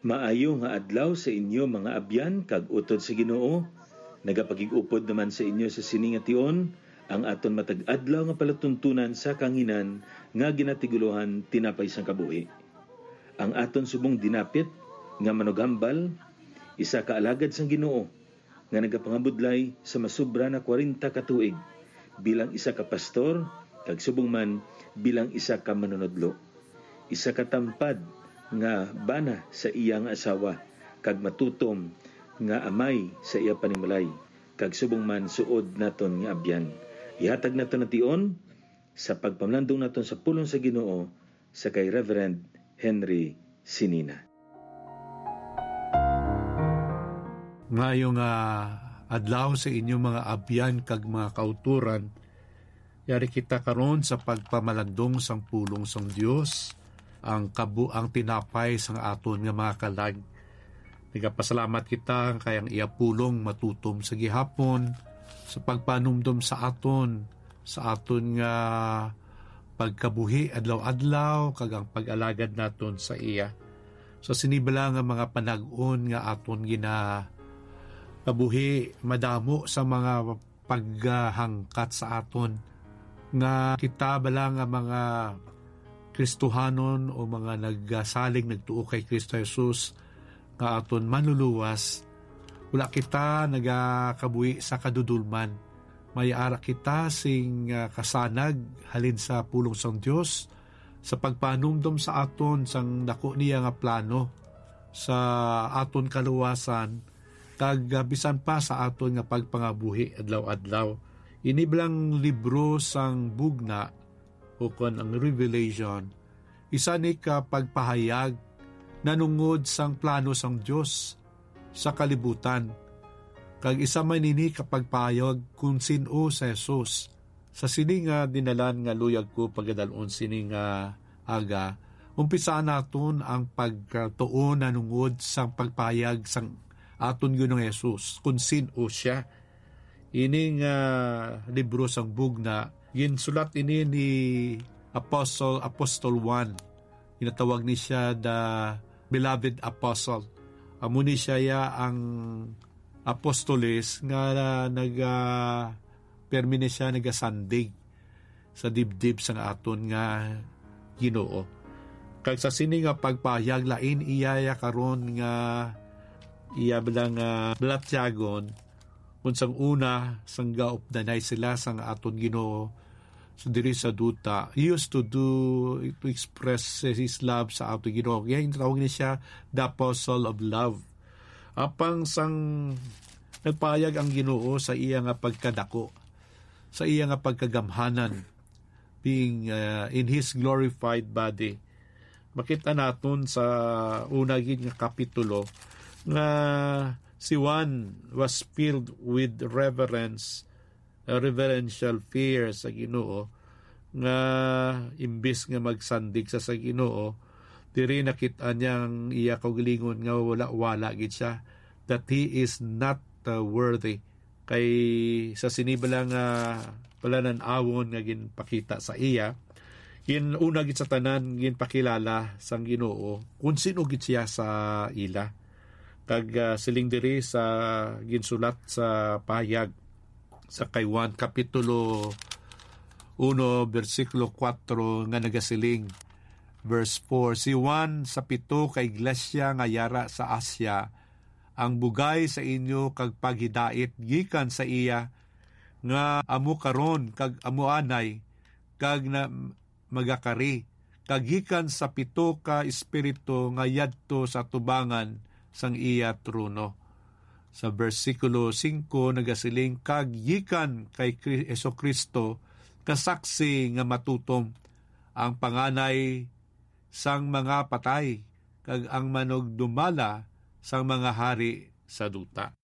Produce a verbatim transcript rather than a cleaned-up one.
Maayo nga adlaw sa inyo, mga abyan kag utod sa Ginoo. Nagapakig-upod naman sa inyo sa sini nga tion ang aton matag adlaw nga palatuntunan sa kanginan nga ginatigulohan Tinapay sang Kabuhi. Ang aton subong dinapit nga manughambal, isa ka alagad sang Ginoo nga nagapangabudlay sa masobra na kwarenta ka tuig bilang isa ka pastor kag subong man bilang isa ka manunodlo, isa ka tampad nga bana sa iya nga asawa, kag matutom nga amay sa iya panimalay, kag subong man suod naton nga abyan. Ihatag naton ang tion sa pagpamlandong naton sa pulong sa Ginoo sa kay Reverend Henry Sinina. Ngayo nga adlaw sa inyo, mga abyan kag mga kauturan, yari kita karon sa pagpamalandong sang pulong sang Dios, ang kabu-, ang tinapay sang aton nga mga kalag. Nagapasalamat kita kay ang iya pulong matutom sa gihapon, sa pagpanumdom sa aton, sa aton nga pagkabuhi adlaw-adlaw, kag ang pag-alagad naton sa iya. Sa sini bala nga mga panag-on nga aton ginakabuhi, madamo sa mga paghangkat sa aton nga kita bala nga mga Kristohanon o mga nagsalig, nagtuo kay Kristo Jesus nga aton manluluwas, wala kita nagakabuhi sa kadudolman. May ara kita sing, ah, kasanag halin sa pulong sang Dios, sa pagpanumdom sa aton sang dako niya nga plano sa aton kaluwasan, kag, ah, bisan pa sa aton nga pagpangabuhi adlaw-adlaw. Ini bala nga libro sang Bugna, ukon ang Revelation, isa ni ka pagpahayag nanungod sang plano sang Dios sa kalibutan, kag isa man ini ka pagpahayag kon sin-o si Jesus. Sa sini nga dinalan nga luyag ko pagadal-on sini nga aga, umpisaan naton ang pagtuon nanungod sang pagpahayag sang aton Ginoong Jesus kon sin-o siya. Ini nga libro sang Bugna, ginsulat ini ni Apostle, Apostle Juan. Ginatawag ni siya the beloved apostle. Amo ni siya ya ang apostoles nga naga-, permi ni siya nagasandig sa dibdib sang aton nga Ginoo. Kag sa sini nga pagpahayag, lain iya ya karon nga iya bala nga balatyagon, unsang una, sang gaupdanay sila sang aton Ginoo, so diri sa duta, he used to do, to express his love sa aton Ginoo. Kaya ginatawag ni siya the Apostle of Love. Apang sang nagpahayag ang Ginoo sa iya nga pagkadako, sa iya nga pagkagamhanan, being, uh, in his glorified body, makita naton sa una gid nga kapitulo nga si Juan was filled with reverence, uh, reverential fear sa Ginoo, nga imbis nga magsandig sa, sa Ginoo, diri nakit-an niya ang iya kaugalingon nga wala-wala gid siya, that he is not, uh, worthy. Kay sa sini bala nga palanan-awon nga ginpakita sa iya, gin-, una gid sa tanan, ginpakilala sang Ginoo kung sino gid siya sa ila. Kag, ah, siling diri sa ginsulat sa pahayag sa kay Juan Kapitulo uno, bersikulo kuwatro, nga nagasiling, verse four, "Si Juan sa pito ka iglesia nga yara sa Asia, ang bugay sa inyo kag paghidait gikan sa iya, nga amo karon kag amo anay, kag na magakari, kag gikan sa pito ka espiritu nga yadto sa atubangan sang iya trono." Sa bersikulo singko nagasiling, "Kag gikan kay Kri-, Jesu-Cristo, kasaksi nga matutom, ang panganay sang mga patay, kag ang manugdumala sang mga hari sa duta."